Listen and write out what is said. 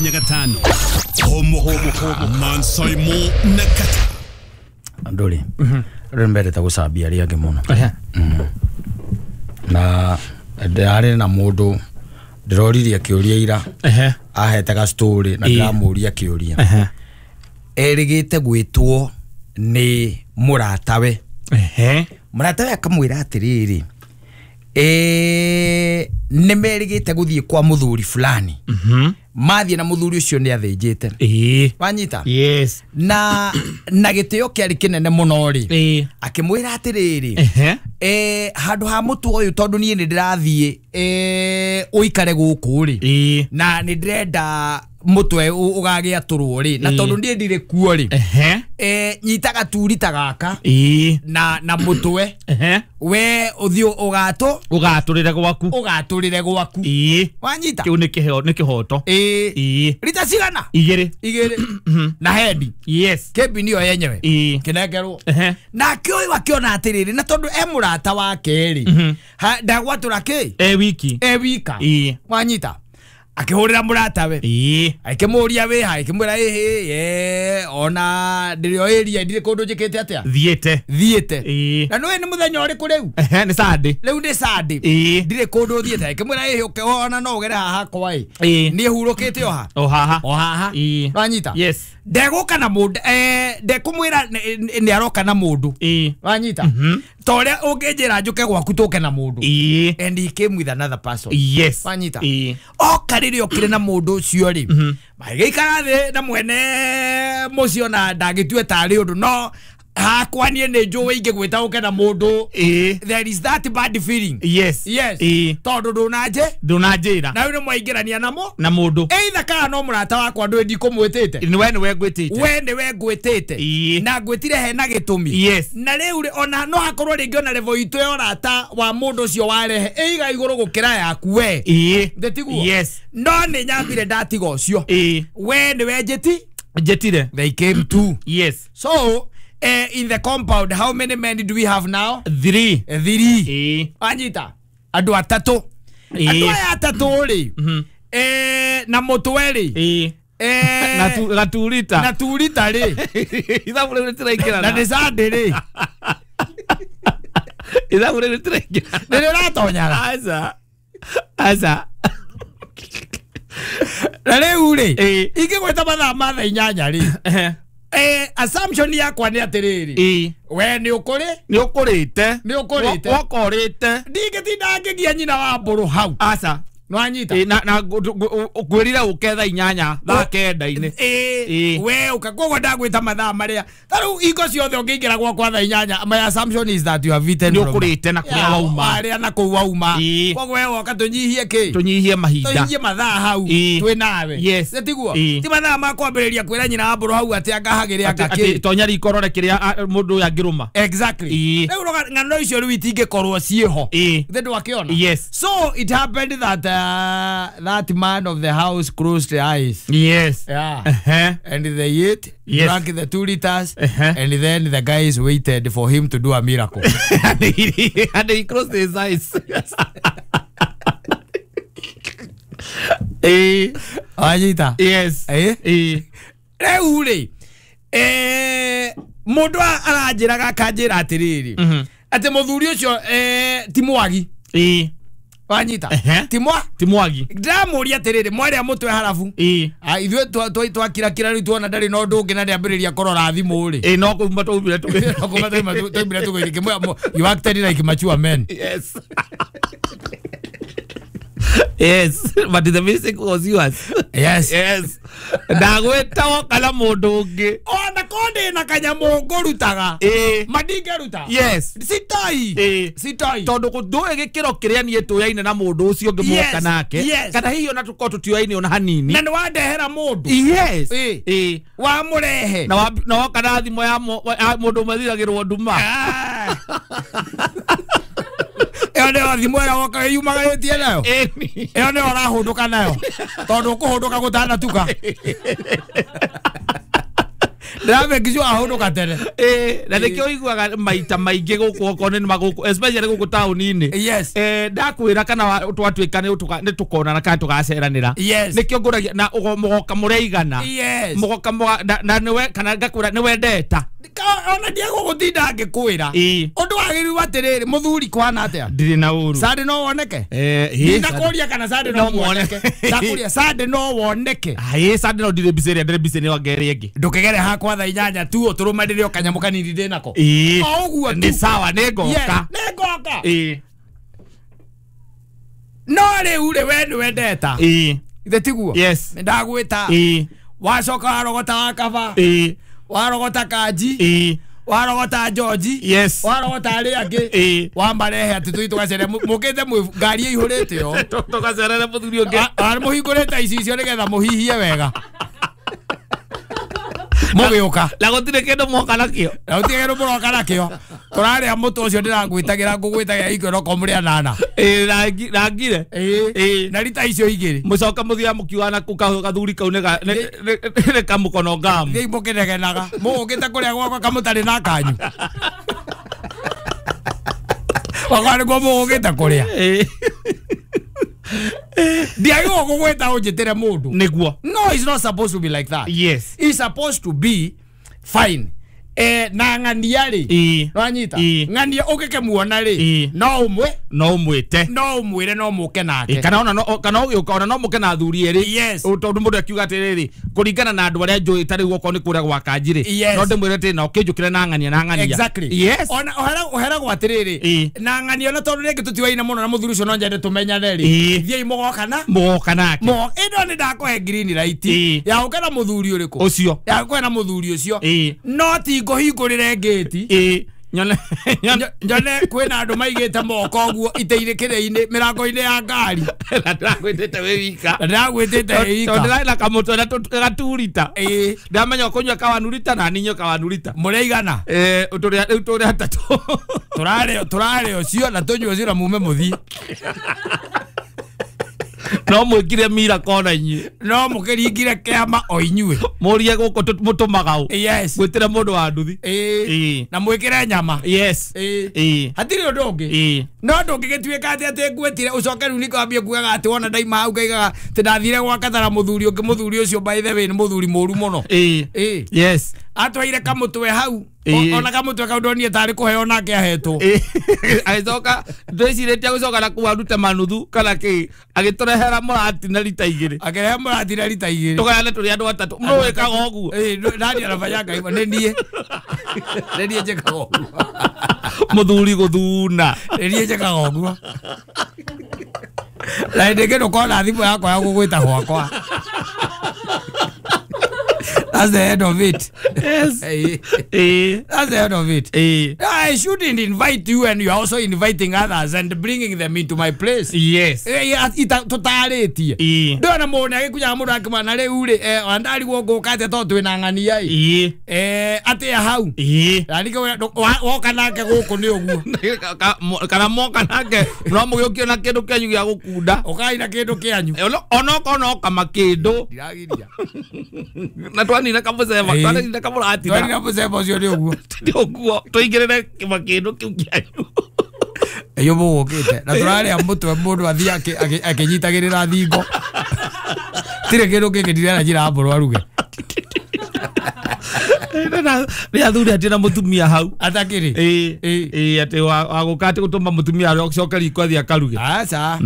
5 Homo Mansaimo na Kata andå rä mendete gå cambia arä angä må no na ndärarä na må ndå ndäroririe kä å ria ira ahete ga story na ndäramå ria kä å ria erä gä te gwä two nä må ratawe må ratawe akamwä ra atä rä rä nä merä gä te gå thiä kwa må thuri fulani mathiä na må thuri å cio nä athä njä te wanyita yes na gä tä o kä arä kä nene må no rä akä mwä ra atä rä rä handå ha må tå å yå tondå niä nä ndä rathiä å ikare gå kå rä na nä ndärenda må twe å gagä atå rwo rä na tondå niä ndirä kuo rä nyita gaturi ta gaka na må twe we å thiä å gatå å gatå rä re gwaku å gatå rä re gwaku wanyita kä u nä kä hoto rita cigana igä igä na hendi yes kembi nĩyo yenyewe kĩnengerwo nake ũyũ akĩona atĩrĩrĩ na tondũ e mũrata wake rĩ ndagwatũra kĩ e wiki e wika wanyita akĩhũrĩra mũratawe akĩmũria wĩha akĩmwĩra ĩhĩ ona ndĩrĩ o area ndirĩ kũndũ njĩkĩte atĩa thiĩte thiĩte na nĩũĩ nĩ mũthenya ũrĩkũ rĩu nĩ Sunday rĩu nĩ Sunday ndirĩ kũndũ thiĩte akĩmwĩra ĩhĩ ona no ũgere haha hakwa ĩ niĩ hurũkĩte o ha o haha o haha wanyita yes ndegũka na mũndũ ndekũmwĩra nĩ aroka na mũndũ wanyita ta ũrĩa ũngĩnjĩra njũke gwaku tũke na mũndũ and he came with another person yes wanyita oka rĩrĩa okire na mũndũ ũcio rĩ magĩikara thĩ na mwene mũciĩ ona ndangĩtue tarĩ ũndũ no hakwa niĩ nĩ njũĩ ingĩgwĩta ũke na mũndũ there is that bad feeling yes yes tondũ ndũnanjĩra na rĩu nĩ mwaingĩrania namo na mũndũ either kana no mũrata wakwa ndũĩ ndikũmwĩtĩte we nĩwe ngwĩtĩte we nĩwe ngwĩtĩte na ngwĩtire hena gĩtũmi yes na rĩu ona no hakorwo rĩngĩ ona level itũ ya ũrata wa mũndũ ũcio warehe ĩiga igũrũ gũkĩra yaku we ndĩtiguo yes no nĩ nyambire ndatiga ũcio we nĩwe njĩtire they came to yes so in the compound how many men do we have now? Three. Three. Anyita andu atatu andu aya atatu ri na mutwe ri na gaturita na turita ri ithabu riu ritiraingirana na ni Sunday ri ithabu riu ritiraingirana ni riratonyaga aca aca na riu ri ingigweta mathaa ma thaa inyanya ri assumption yakwa nĩ atĩrĩrĩ we nĩ ũkũrĩ nĩ ũkũrĩte nĩ ũkũrĩte wakorĩte ndingĩtinda ngĩgia nyina wa mbũrũ hau aca nĩwanyita na ngwĩrire ũke thaa inyanya thaa kenda-inĩ we ũka koguo ndagwĩta mathaa marĩa ta rĩu hingo ciothe ũngĩingĩra gwakwa thaa inyanya my assumption is that you have eaten nĩ ũkũrĩte na kũrĩa wauma warĩa na kũu wauma koguo we woka tũnyihie kĩ tũnyihie mahinda tũnyihie mathaa hau twĩ nawe yes tiguo ti mathaa ma kwambĩrĩria kwĩra nyina wa mbũrũ hau atĩ angahagĩre anga kĩ tonya riko rore kĩrĩa mũndũ ũyũ angĩrũma exactly rĩu ng'ano icio rĩu itingĩkorwo ciĩho thĩ ndwakĩona yes so it happened that that man of the house closed the eyes. Yes. Yeah. And they ate, yes. Drank the 2 liters, and then the guys waited for him to do a miracle. And he closed his eyes. Yes. Anyita. Yes. Rĩu rĩ, mũndũ aranjĩraga akanjĩra atĩrĩrĩ, atĩ mũthuri ũcio ti mwagi. Wanyita timwa timwagi ndĩramũria atĩrĩrĩ mwarĩa mũtwe harabu ithuĩ twakirakira rĩu tuona ndarĩ na ũndũ ũngĩ na ndĩambĩrĩria kũrora thimũ rĩ no kuma twaumire twaumire tũgĩthiĩ you acted like mature men yes yes but the mistake was yours yes yes ndagwĩta woka na mũndũ ũngĩ ona ko ndĩ na kanyamũ ngũrutaga mandingĩruta yes sitoi sitoi tondũ ndũĩ gĩkĩro kĩrĩa niĩ tũyaine na mũndũ ũcio ũngĩ mwoka nake kana hihi ona tũkorwo tũtioyaine ona hanini na nĩ wandehera mũndũ yes wamũrehe na woka na thimũ ya mũndũ ũmwe thiragĩrwo nduma ĩyo nĩyo thimũ ĩrĩa woka yumagarĩtie nayo ĩyo nĩyo ũrahũndũka nayo tondũ ũkũhũndũka gũtanatuka Ndĩramekicwo ahũndũka tene. Na nĩkĩo ũiguaga maita maingĩ gũkũ okorwo nĩ magũkũ especially gũkũ taũni-inĩ. Yes. Ndakwĩra kana twatuĩka nĩ tũkonana kana tũgaceranĩra. Yes. Nĩkĩo ngũragia na mũgoka mũrĩigana. Yes. Mũgoka na nĩwe kana ngakwĩra nĩwe ndeta. Ona ndiegũgũtinda ngĩkwĩra. Ũndũ wagĩrĩirwo atĩrĩrĩ mũthuri kwana atĩa? Ndirĩ na ũru. Sande no woneke? Ndinakũria kana sande no woneke. Ndakũria sande no woneke. Sande no ndirĩ busy ĩrĩa ndĩrĩ busy nĩ wanga ĩrĩa ĩngĩ. Ndũkĩgere hakwa thaa 8 tu ũtũrũmanĩre o kanyamũ kanini ndĩ nako. O ũguo tu. Nĩ sawa nĩngoka. Nĩngoka. No rĩu rĩ we nĩwendeta. Ithe tiguo? Yes. Nĩndagwĩta. Wacoka warogota wakaba. Warogota Kanji. Warogota George. Yes. Warogota arĩa angĩ. Wamarehe atĩ tũthiĩ tũgacere mũkĩte ngari ĩihũrĩte yo. Tũgacerere mũthuri ũngĩ. Mũhingũrĩte icicio nĩgetha mũhihie wega. Mũgĩũka. Na gũtirĩ kĩndũ mwoka nakĩo. Na gũtirĩ kĩndũ mũroka nakĩo. Tũrarĩa mũtũ ũcio ndĩragwĩtagĩra ngũgwĩtagĩra ikĩro ko mũrĩ anana. Na ngire. Na rita icio igĩrĩ. Mũcoka mũthiaga mũkiugaga na kau gathuri kau nĩ kamũkono ngamu. Thiĩi mũkĩnegenaga. Mũgũkĩte kũrĩa gwakwa kamũtarĩ na kanyu. Gwakwa nĩkuo mũgũkĩte kũrĩa. Ndiagĩrĩirwo gũgwĩta ũnjĩtĩre mũndũ. Nĩguo. No, it's not supposed to be like that. Yes. It's supposed to be fine. Na ng'ania rĩ. Nĩwanyita? Ng'ania ũngĩkĩmuona rĩ. No ũmwe. No ũmwĩte. No ũmwĩre no mũke nake. Kana ona no kana ũgĩũka ona no mũke na athuri erĩ. Yes. Tondũ mũndũ akiuga atĩrĩrĩ kũringana na andũ arĩa njũĩ ta rĩu okorwo nĩ kũrĩa gwa Kanji rĩ. No ndĩmwĩre atĩ na ũkĩnjũkĩre na ng'ania na ng'ania. Exactly. Yes. Ona ũheragwo atĩrĩrĩ. Na ng'ania ona tondũ rĩngĩ tũtiwaine mũno na mũthuri ũcio no nyende tũmenyane rĩ. Thiĩi mũgoka na. Mũgoka nake. Ĩno nĩ ndakũhe green light. Ya ũke na mũthuri ũrĩkũ? Ũcio. Ya ũke na mũthuri ũcio. No ti ngũhingũrĩre ngĩti. Nyone kwĩna andũ maigĩte moko ũguo iteirĩ kĩrĩ-inĩ mĩrango-inĩ ya ngari. Na ndĩragwĩtĩte wĩ wika. Na ndĩragwĩtĩte wĩ wika. Tondũ ndĩrarĩ na kamũtwe na gaturita. Ndamenya ũkũnyua kawanurita na niĩ nyue kawanurita. Mũrĩigana? Rĩu tũrĩ atatũ. Tũrarĩa ũcio na tũnyue ũcio na mume mũthiĩ. No mwĩkire mira kona inyuĩ. No mũkĩringire kĩama o inyuĩ. Mũrie gũkũ mũtũmaga ũ. Yes. Mwĩtĩre mũndũ wa nduthi. Na mwĩkĩre nyama. Yes. Hatirĩ ũndũ ũngĩ. No ndũngĩgĩtuĩka atĩ atĩ ngwĩtire ũcoke rĩu nĩkwambie kugaga atĩ wona ndaima hau ngaigaga atĩ ndathire gwa Kathara mũthuri ũngĩ mũthuri ũcio by the way nĩ mũthuri mũru mũno. Yes. Atwaire kamũtwe hau. Ona kamũtwe kau ndonire tarĩ kũheo nake ahetwo. Agĩcoka ndwĩcirĩtie gũcoka na kũu arute manuthu kana kĩ agĩtũrehera mũrati na rita igĩrĩ. Akĩrehe mũrati na rita igĩrĩ. Tũgayane tũrĩ andũ atatũ. Nũ wĩkaga ũguo? Nani anafanyaga hivyo? Nĩ niĩ. Nĩ niĩ njĩkaga ũguo. Mũthuri gũthuna. Nĩ niĩ njĩkaga ũguo. Na hĩndĩ ĩngĩ ndũkona thimũ yakwa ya gũgwĩta gwakwa. That's the end of it. Yes. That's the end of it. I shouldn't invite you and you are also inviting others and bringing them into my place. Yes. Tũtarĩtie. Ndona mũndũ agĩkunyaga mũndũ akĩmwana rĩu rĩ andarigwo ngũka atĩa tondũ twĩna ng'ania ĩ. Atĩa hau. Na ningĩ woka nake gũkũ nĩ ũguo. Kana moka nake no mũgĩũkio na kĩndũ kĩanyu gĩa gũkunda. Ũkai na kĩndũ kĩanyu. Onokorwo no kama kĩndũ. Ndiragiria. Na twanina kamũceba twanina kamũratina. Twanina mũceba ũcio nĩ ũguo. Nĩ ũguo tũingĩrĩre kĩndũ kĩu kĩanyu. Iyo mũgũkĩte na tũrarĩa mũtwe mũndũ athiĩ akĩnyitagĩrĩra thingo. Tirĩ kĩndũ kĩngĩ ndirera njĩra mbũrũ aruge. Nĩ athuri atĩ na mũtumia hau. Atakĩrĩ. Atĩ wagũka atĩ gũtũma mũtumia acoke riko athiĩ akaruge. Aca.